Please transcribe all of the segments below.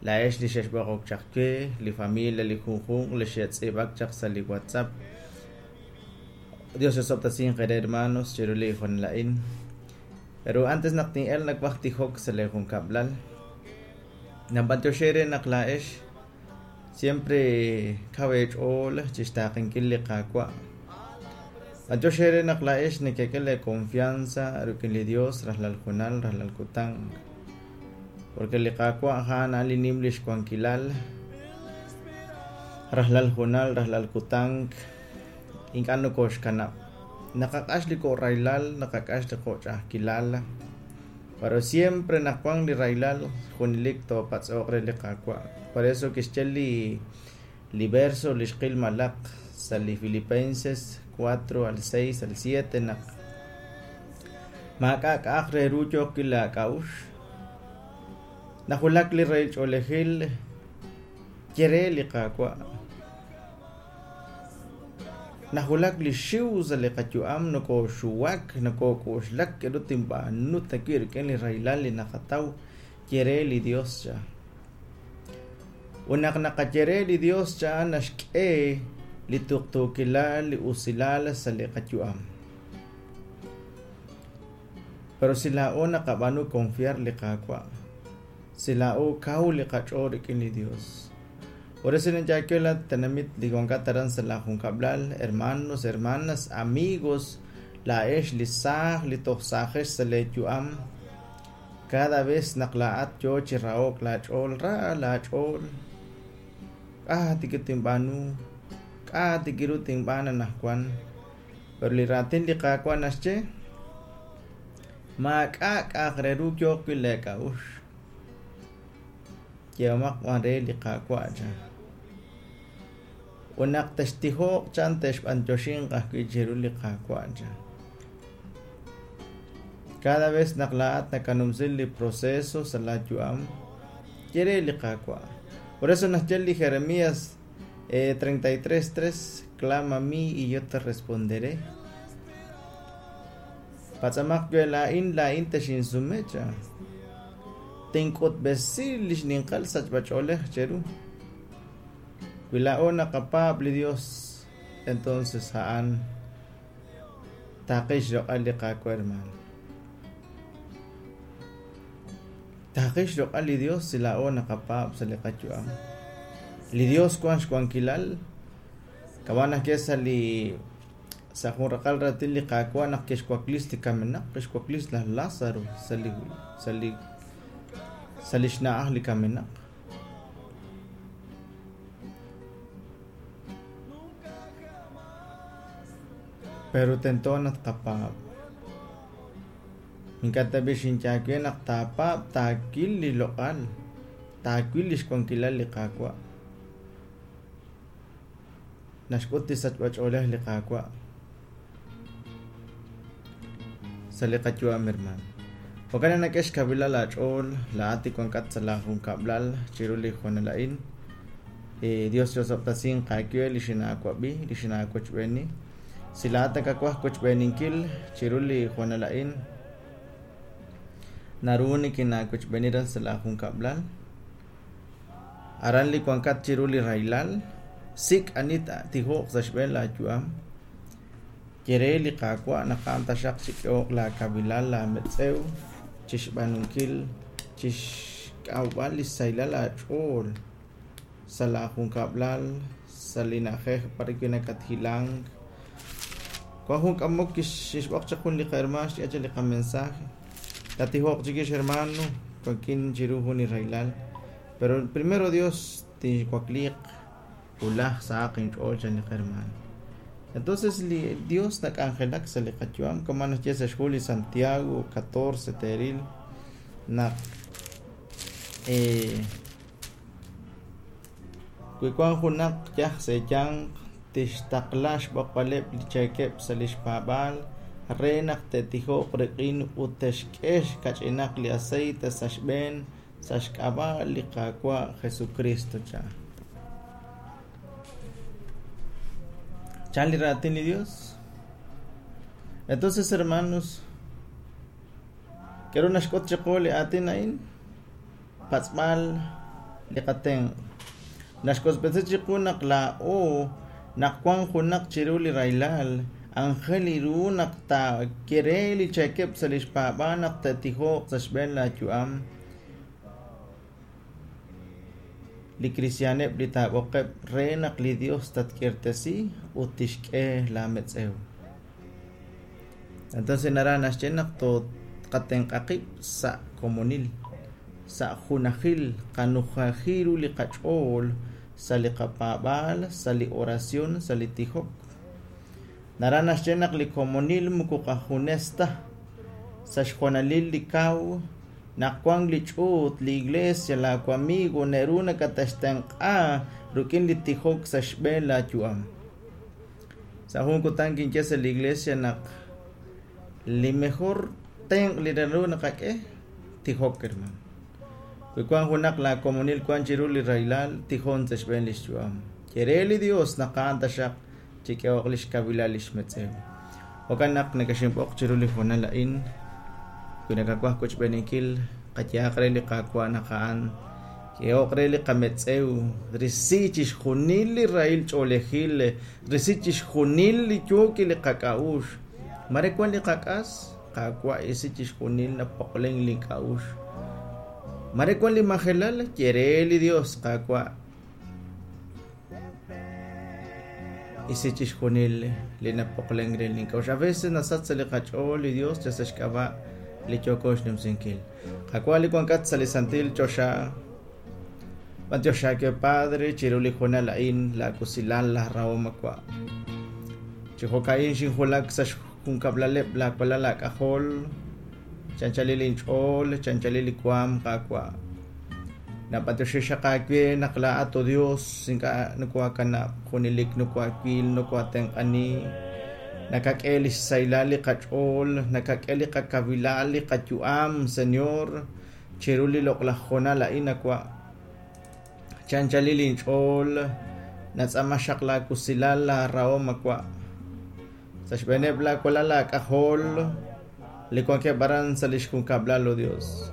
Laa'ex li xexb'oqok chaq we, li familia, li junjunq li xe'tz'iib'ak chaq sa' li WhatsApp. Dios osob'tesinq eere hermanos chiru li hoonal a'in. Pero antes naq tin'el nawaj tijok sa' lee junkab'lal. Nanb'antioxi eere naq laa'ex siempre kaw eech'ool chixtaaqenkil li Qaawa'. B'antiox eere naq laa'ex nekek'e lee confianza rik'in li Dios rajlal junal, rajlal kutan. Porque li Qaawa' a'an a'an li nim lix wankilal rajlal junal, rajlal kutan ink'a' nokoxkanab'. Naqaq'ax li ko'rahilal, naqaq'ax li qo'ch'a'ajkilal. Pero siempre naq wan li rahilal, junelik toopatz'oq re li Qaawa'. Por eso kixye li li verso li xqil malaq sa' li Filipenses 4 al 6 al 7 naq maak'a' k'a'aq re ru yooq wi' laak'a'uxl. Najulak li rahil ch'oolejil ye re li Qaawa'. Najulak li xiw sa' li qayu'am nokooxuwak, nokook'oxlak k'aru tinb'aanu ta wi' rik'in li rahilal li naqataw, ye re li Dios cha. Ut naq naqaye re li Dios cha naxk'e li tuqtuukilal, li usilal sa' li qayu'am. Pero si laa'o naqab'aanu confiar li Qaawa', si laa'o kaw li qach'ool rik'in li Dios. Por eso ninyaakil la tenamit li wankat aran sa' la junkab'lal, hermanos, hermanas, amigos, laa'ex li saaj, li toj saajex sa' lee yu'am. Cada vez naq laa'at yoo chi raho'k laach'ool, ra laach'ool. K'a' tik tinb'aanu, k'a' tik ru tinb'aan anaqwan. Pero li raatin li Qaawa' naxye, maak'a' k'a'aq re ru yooq wi' lee k'a'uxl. Yehomaq b'an re li Qaawa' chan. Ut naq textijoq chan texb'antioxinq ajwi' chiru li Qaawa' chan. Cada vez naq laa'at nakanumsi li proceso sa' laa yu'am, ye re li Qaawa'. Por eso naxye li Jeremías 33:3, Clama a mí y yo te responderé. Patz'amaq we laa'in, laa'in texinsume chan. Tink'utb'esi li xninqal sachb'ach'oolej cheru. Wi laa'o naqapaab' li Dios, entonces a'an taaqil xloq'al li Qaawa', hermano. Taaqil xloq'al li Dios si laa'o naqapaab' sa' li qayu'am. Li Dios wan xwankilal, kama' naxye sa' li sa' jun raqal raatin li Qaawa' naq kixwaklis li kamenaq, kixwaklis laj Lázaro sa' li sa' li sa' li xna'aj li kamenaq. Pero tento naq tqapaab'. Ink'a' tab'i' xinye aawe naq taapaab' taawil li loq'al, taawil li xwankilal li Qaawa'. Naxk'ut li sachb'ach'oolej li Qaawa' sa' li qayu'am, hermano. Jo'kan naq nak'e xkawilal aach'ool, laa'at li wankat sa' laa junkab'lal chiru li hoonal a'in. Dios chi'osob'tesinq aawe li xinaawab'i, li xinaawochb'eeni. Si laa'at nakawaj wochb'eeninkil chiru li hoonal a'in, naru nikinaawochb'eeni raj sa' laa junkab'lal. Aran li wankat chiru li rahilal, sik' ani tijoq sa' xb'een laayu'am. Ye re li Qaawa' naq a'an taxaq chik'ehoq laakawilal laametz'ew chi xb'aanunkil, chi xk'awb'al li xsahilal aach'ool sa' laajunkab'lal, sa' li na'ajej b'arwi' nakathilank. Wank jun k'amok kixb'oq chaq jun li qahermaan xk'e chaq li qamensaje. Tatijoq chikix hermano, wankin chiru jun li rahilal. Pero primero Dios tinwakliiq wulaj sahaq inch'ool chan li qahermaan. Entonces li Dios nak'anjelak sa' li qayu'am kama' naxye sa' xhu li Santiago 14 teeril naq wi wank junaq yaj sa' eeyanq tixtaqla xb'oqb'aleb' li cheekeb' sa' li xpaab'aal re naq te'tijoq rik'in ut te'xk'e kach'inaq li aceite sa' xb'een sa' xk'ab'a' li Qaawa' Jesukristo, chan. Chan li raatin li Dios. Entonces, hermanos, k'aru naxk'ut chiqu li aatin a'in? Patz'b'al. li qatenq'. Naxk'utb'esi chiqu naq laa'o naq wank junaq chiru li rahilal, aajel ru naq taaye re li cheekeb' sa' li xpaab'aal naq te'tijoq sa' xb'een laayu'am. Li kristi'aaneb' li taab'oqeb' re naq li Dios tatk'irtesi ut tixk'e laametz'ew. Entonces naraj naxye naq tqatenq'a qib' sa' komonil, sa' junajil, qanujaji ru li qach'ool sa' li qapaab'aal, sa' li oración, sa' li tijok. Naraj naxye naq li komonil moko qajunes ta, sa' xjoonalil li kaw, naq wank li ch'uut, li iglesia, laawamigo naru nakate'xtenq'a rik'in li tijok sa' xb'een laayu'am. Sa' jun kutan kinye sa' li iglesia naq li mejor tenq' li naru naqak'e tijok, hermano. Wi wank junaq laakomonil wank chiru li rahilal, tijon sa' xb'een li xyu'am. Ye re li Dios naq a'an taxaq chik'ehoq li xkawilal li xmetz'ew. Jo'kan naq nekexinb'oq chiru li hoonal a'in, wi nakawaj qochb'eeninkil, qayehaq re li Qaawa' naq a'an k'ehoq re li qametz'ew, risi chixjunil li rahil ch'oolejil, risi chixjunil li yook li qak'a'uxl. Mare wank li qak'as, Qaawa' isi chixjunil napoqlen li k'a'uxl. Mare wank li majelal, ye re li Dios, Qaawa' isi chixjunil li napoqlenk re link'a'uxl. A veces nasach sa' li qach'ool li Dios yal sa' xk'ab'a' li yooko xnumsinkil. Qaawa' li wankat sa' li santil choxa, b'antiox aawe Padre chiru li hoonal a'in laawusilal laarahom awa'. Chi jo'ka'in xinwulak sa' xjunkab'laleb' laawalal aak'ajol, chanchalil inch'ool, chanchalil li waanm, Qaawa'. Nab'antioxi xaq aawe naq laa'at, o Dios, ink'a' nokoohakanab', junelik nokohaawil, nokoohatenq'ani, nakak'e li xsahilal li qach'ool, nakak'e li qakawilal, li qayu'am, Señor, chiru li loq'laj hoonal a'in awa'. Chanchalil inch'ool, natz'aama xaq laawusilal, laarahom awa'. Sa' xb'eeneb' laawalal aak'ajol li wankeb' aran sa' li xjunkab'lal, o Dios.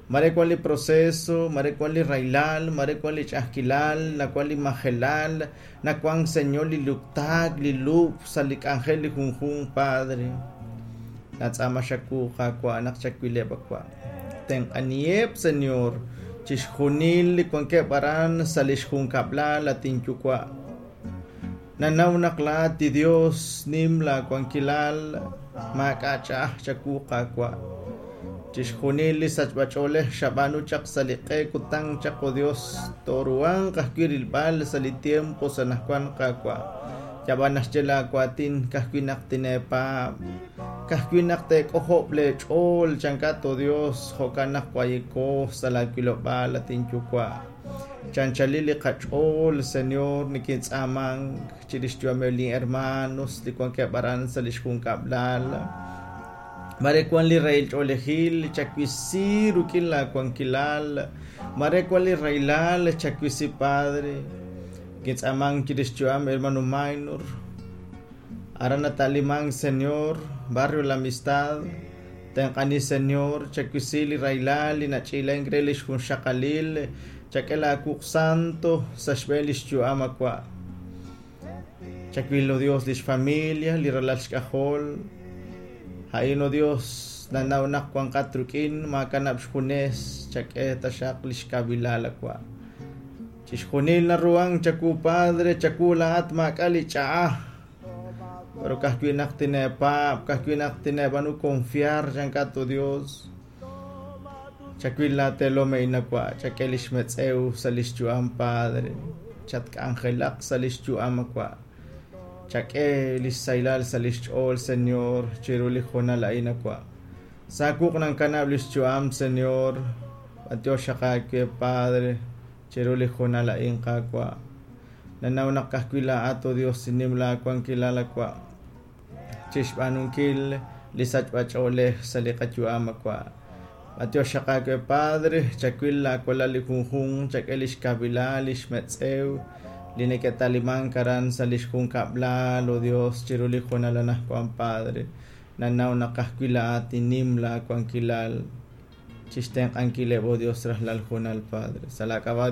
Mare wank li proceso, mare wank li rahilal, mare wank li ch'a'ajkilal, nawank li majelal, nawank, Señor, li luktaak, li lub'k sa' li k'anjel li junjunq, Padre. Natz'aama xawu, Qaawa', naq chawileb' awa'. Tenq'aniheb', Señor, chixjunil li wankeb' aran sa' li xjunkab'lal, at inyuwa'. Nanaw naq laa'at li Dios nim laawankilal, maak'a' ch'a'aj chawu, Qaawa'. Chixjunil li sachb'ach'oolej xab'aanu chaq sa' li q'e kutan chaq, o Dios, tooruhanq ajwi' rilb'al sa' li tiempo sa' anaqwan, Qaawa'. Yab'an naxye laawaatin, ka'ajwi' naq tineepaab', ka'ajwi' naq teek'ojob' leech'ool, chankat, o Dios, jo'kan naq wayiko sa' laawilob'aal, at inyuwa'. Chanchalil li qach'ool, Señor, nikintz'aamank chirix xyu'ameb' lin hermanos li wankeb' aran sa' li xjunkab'lal. Mare wank li rahil ch'oolejil, chawisi rik'in laawankilal. Mare wank li rahilal, chawisi, Padre. Nikintz'aamank chirix xyu'am hermano Maynor. Aran nata'limank, Señor, Barrio La Amistad. Tenq'ani, Señor, chawisi li rahilal li nach'iilenk re li xjunxaqalil, chak'e laawuq' santo sa' xb'een li xyu'am awa'. Chawil, o Dios, li xfamilia, li ralal xk'ajol. A'in, o Dios, nanaw naq wanqat rik'in, maakanab' xjunes, chak'e taxaq li xkawilal awa'. Chixjunil naruhank chawu, Padre, chawu laa'at maak'a' li ch'a'aj. Pero ka'ajwi' naq tineepaab', ka'ajwi' naq tineeb'aanu confiar, chankat, o Dios. Chawil laateelom a'in awa', chak'e li xmetz'ew sa' li xyu'am, Padre. Chatk'anjelaq sa' li xyu'am awa'. Chak'e li xsahilal sa' li xch'ool, Señor, chiru li hoonal a'in awa'. Sa' wuq' nankanab' li xyu'am, Señor. B'antiox xaq aawe, Padre, chiru li hoonal a'in, Qaawa'. Nanaw naq ka'ajwi' laa'at, o Dios, nim laawankilal awa' chixb'aanunkil li sachb'ach'oolej sa' li qayu'am awa'. B'antiox xaq aawe, Padre, chawil laawalal li junjunq, chak'e li xkawilal, li xmetz'ew, li neke'talimank aran sa' li xjunkab'lal, o Dios, chiru li hoonal anaqwan, Padre. Nanaw naq ka'ajwi' laa'at nim laawankilal. Chixtenq'ankileb', oh Dios, rajlal hoonal, Padre. Sa' laa k'ab'a',